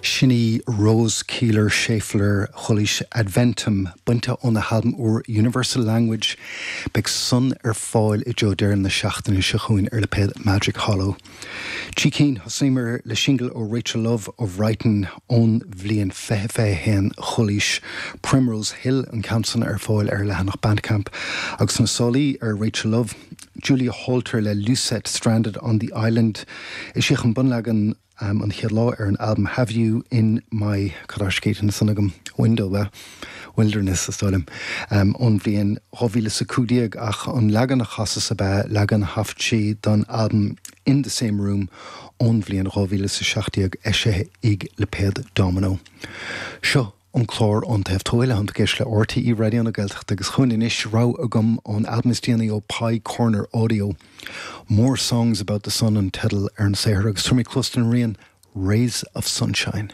Sin í Rose Keeler Schaeffler Chulaois, Adventum, bainte óna halbam úr Universal Language. Beidh san ar fáil i dtreo deireadh na seachtaine seo chugainn ar lipéad Magic Hollow. Trí cinn, thosaíomar le singil ó Rachel Love ó Bhrighton ón bhliain 2021, Chulaois, Primrose Hill, an ceann san ar fáil ar a leathanach Bandcamp. Agus na sálaí ar Rachel Love, Julia Holter le Lucette Stranded on the Island. Eisíodh an bunleagan an chéad lá ar an albam Have You in My, cad tá scríte ansan agam? Window, bhuel, Wilderness is dóigh liom, ón bhliain 2015 ach an leagan a chasas ab ea leagan a thaifead sí don albam In the Same Room ón bhliain 2017 eisithe ag lipéad Domino. Seo an clár Ón Taobh Thuaidh le ag éisteacht le RTÉ Raidió na Gaeltachta agus chugainn anois rogha agam ón albam is déanaí ó Pie Corner Audio. More Songs About the Sun an teideal ar an saothar agus tabharfaidh mé cluas don rian Rays of Sunshine.